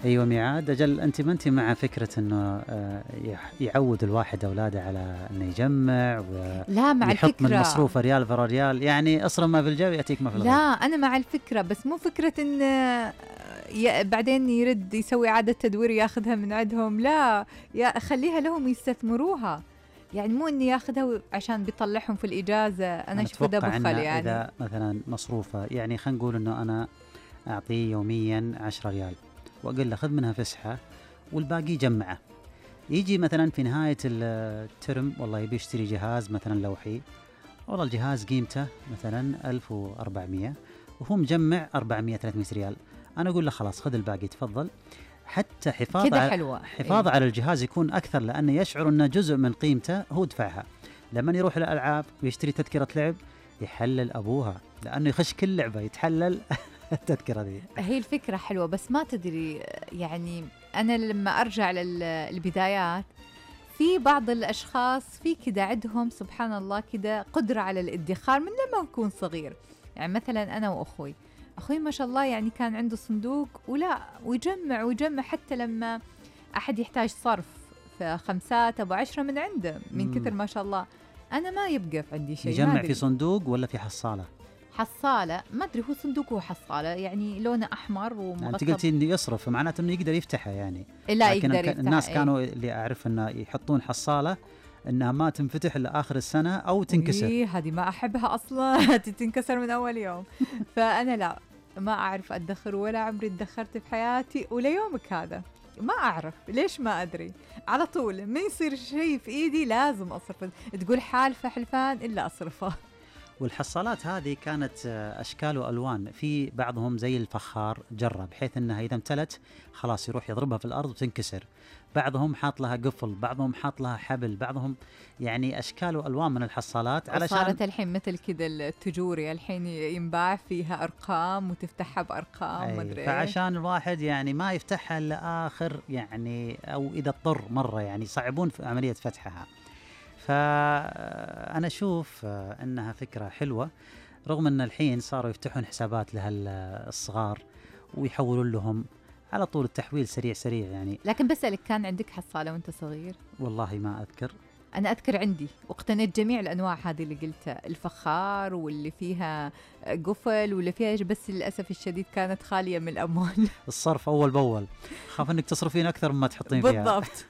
أيوة ميعاد أجل، أنت ما أنت مع فكرة أنه يعود الواحد أولاده على أنه يجمع لا مع ويحط من الفكرة. مصروفه ريال فرا ريال، يعني أصرف ما في الجيب يأتيك ما في لا الغيب. أنا مع الفكرة، بس مو فكرة إن بعدين يرد يسوي إعادة تدوير ياخذها من عندهم. لا، يا خليها لهم يستثمروها، يعني مو إني ياخذها عشان بيطلعهم في الإجازة. أنا أشوف ده أتوقع بخل أنه يعني. إذا مثلا مصروفه، يعني خلينا نقول أنه أنا أعطيه يوميا 10 ريال وأقول له خذ منها فسحة والباقي جمعه، يجي مثلا في نهاية الترم والله يبي يشتري جهاز مثلا لوحي، والله الجهاز قيمته مثلا 1400 وهو مجمع 400-300 ريال، أنا أقول له خلاص خذ الباقي تفضل، حتى حفاظ على الجهاز يكون أكثر، لأنه يشعر أنه جزء من قيمته هو دفعها. لما يروح الألعاب ويشتري تذكرة لعب يحلل أبوها، لأنه يخش كل لعبة يتحلل التذكرة دي. هي الفكرة حلوة، بس ما تدري يعني أنا لما أرجع للبدايات في بعض الأشخاص في كده عندهم سبحان الله كده قدرة على الادخار من لما يكون صغير. يعني مثلا أنا وأخوي ما شاء الله يعني كان عنده صندوق ويجمع حتى لما أحد يحتاج صرف ف5 أو 10 من عنده من كثر ما شاء الله. أنا ما يبقى في عندي شيء. يجمع في صندوق ولا في حصالة؟ حصالة، ما أدري هو صندوق وحصالة، يعني لونه أحمر ومغطى. أنت قلتي إنه يصرف، معناته إنه يقدر يفتحها يعني. لا يقدر يفتح. الناس كانوا اللي أعرف إنه يحطون حصالة إنها ما تنفتح إلا آخر السنة أو تنكسر. هذه ما أحبها أصلا تنكسر من أول يوم. فأنا لا، ما أعرف أدخر ولا عمري ادخرت في حياتي، وليومك هذا ما أعرف ليش، ما أدري، على طول ما يصير شيء في إيدي لازم أصرفه، تقول حالفة حلفان إلا أصرفه. والحصالات هذه كانت أشكال وألوان، في بعضهم زي الفخار جرة بحيث أنها إذا امتلت خلاص يروح يضربها في الأرض وتنكسر، بعضهم حاط لها قفل، بعضهم حاط لها حبل، بعضهم يعني أشكال وألوان من الحصالات. علشان صارت الحين مثل كذا التجوري الحين ينباع فيها أرقام وتفتحها بأرقام مدري. فعشان الواحد يعني ما يفتحها إلا آخر يعني، أو إذا اضطر مرة يعني يصعبون في عملية فتحها. فأنا أشوف أنها فكرة حلوة، رغم أن الحين صاروا يفتحون حسابات للصغار ويحولون لهم على طول، التحويل سريع يعني. لكن بسألك، كان عندك حصالة وانت صغير؟ والله ما أذكر. أنا أذكر عندي واقتنيت جميع الأنواع هذه اللي قلتها، الفخار واللي فيها قفل واللي فيها بس للأسف الشديد كانت خالية من الأموال. الصرف أول بأول، خاف أنك تصرفين أكثر مما تحطين فيها. بالضبط.